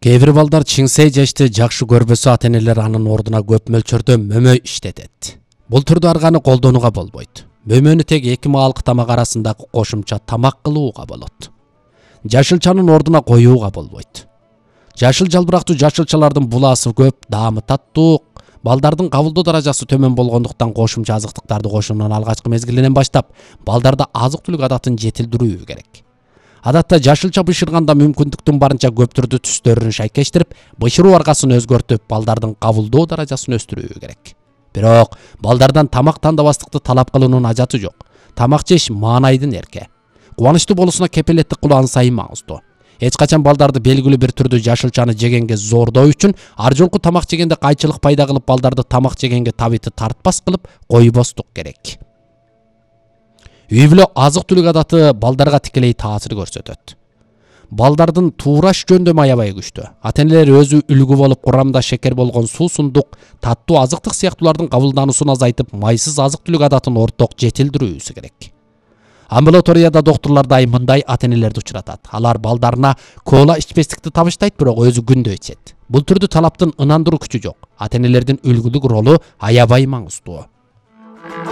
Кээ бир балдар чиңсей жешти жакшы көрбөсө ата-энелер анын ордуна көп мөлчөрдө мөмө иштетет. Бул түрдө арганы колдонууга болбойт. Мөмөнү тек эки маалык тамак арасындагы кошумча тамак кылууга болот. Жашылчанын ордуна коюуга болбойт. Жашыл жалбырактуу жашылчалардын булаасы көп, даамы таттуу, балдардын кабылдоо даражасы төмөн болгондуктан кошумча азыктыктарды кошуунун алгачкы мезгилинен баштап балдарда азык-түлүк адатын жетилдирүү керек. Адатта жашылча бышырганда мүмкүндүктүн барынча көп түрдүү түстөрүн шайкештирип, бышыруу аргасын өзгөртүп, балдардын кабылдоо даражасын өстүрүү керек. Бирок балдардан тамак тандабастыкты талап кылуунун ажаты жок. Тамак жеш маанайдын эрке. Кубанычтуу болуусуна кепилеттик кылуу ан сайын маңыздуу. Эч качан балдарды белгилүү бир түрдүү жашылчаны жегенге зордоо үчүн ар жолку тамак жегенде кайчылык пайда кылып, балдарды тамак жегенге табити тартпас кылып койбостук керек. Үй бүлө азык-түлүк адаты балдарга тикелей таасир көрсөтөт. Балдардын туураш жөндөмү аябай күчтүү. Ата-энелер өзү үлгү болуп, курамда шекер болгон суусундук, таттуу азыктык сыяктуулардын кабылдануусун азайтып, майсыз азык-түлүк адатын орток жетилдирүүсү керек. Амбулаторияда доктурлар дайым мындай ата-энелерди учуратат. Алар балдарына кола ичпестикти табыштайт, бирок өзү күндө ичет. Бул түрдүү талаптын ынандыруу күчү жок. Ата-энелердин үлгүлүк ролу аябай маңыздуу.